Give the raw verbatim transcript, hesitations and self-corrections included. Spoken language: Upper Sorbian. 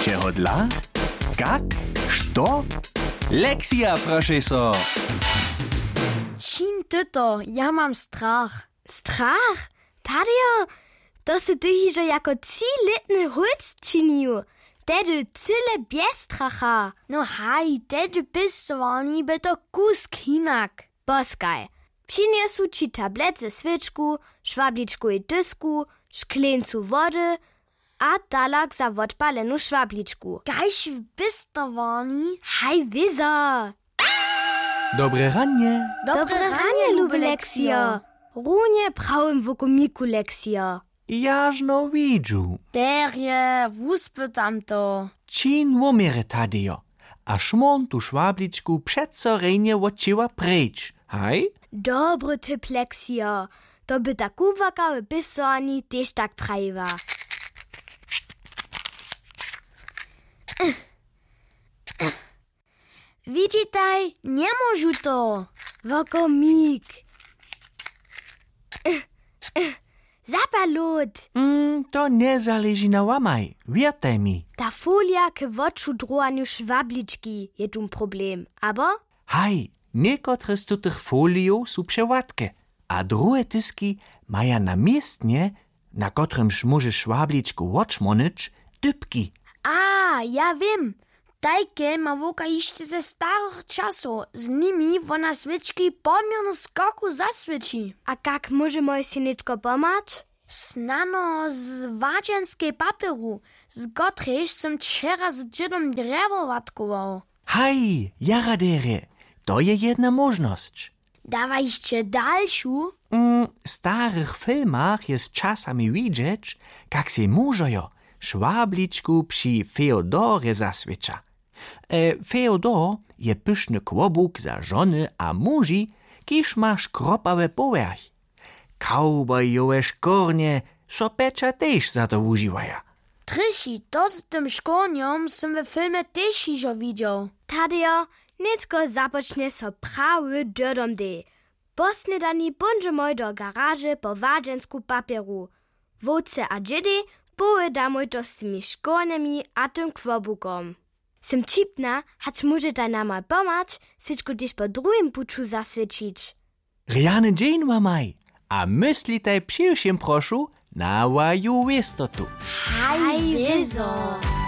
Čehodla? Kak? Što? Lexija, prošej so. Čin ty to, ja mam strach. Strach? Tadejo, to sy ty hižo jako třilětny hólc činił. Tehdy cyle bjez stracha. No haj, tehdy pěstowarni by to kusk hinak. Poskaj. Přinjesu ći tablet ze swěčku, šwabličkowej dysku, škleńcu wody a talak za wotpalenu šwabličku. Kaž w pěstowarni? Haj wězo. Dobre ranje. Dobre ranje, luby Leksijo. Runje w prawym wokomiku, Leksijo. Jažno widźu. Derje, wuspytam to. Čin woměrje, Tadejo, a šmórn tu šwabličku přeco rjenje wot ćěła preč, haj? Dobry typ, Leksijo. To by ta kubłarka w pěstowarni tež tak prajiła. Widźitaj, njemóžu to. Wokomik. Zapalot. Mm, to njezaleži na wamaj, wěrtaj mi. Ta folija k wočudrowanju šwablički je tu problem, abo? Haj, někotre z tutych folijow su přewładke, a druhe tyzki maja na městnje, na kotrymž móžeš šwabličku wočmónyć, dypki. A, ja wěm. Tajke ma wowka hišće ze starych časow, z nimi wona swěčki poměrnje skoku zaswěći. A kak móžemoj sej nětko pomhać? Snano z wadźenskej papjeru, z kotrejž sym wčera z dźědom drjewo łatkował. Haj, jara derje, to je jedna móžnosć. Dawa hišće dalšu? Mm, w starych filmach je z časami widźeć, kak sej mužojo šwabličku při Feodorje zaswěća. E, Feodor je pyšny kłobuk za žony a muži, kiž ma škropawy powjerch. Cowboyowe škórnje so pjeća tež za to wužiwaja. Trješi, to z tym škórnjom sym we filmje tež hižo widźał. Tadejo, nětko započnje so prawy dyrdom dej. Po snědani póńdźemoj do garaže po wadźensku papjeru. Wowce a dźědej powědamoj to z tymi škórnjemi a tym kłobukom. Sym ćipna, hač móžetaj namaj pomhać, swěčku tež po druhim puću zaswěćić. Rjany dźeń wamaj a myslitaj při wšěm, prošu, na waju wěstotu. Haj, wězo.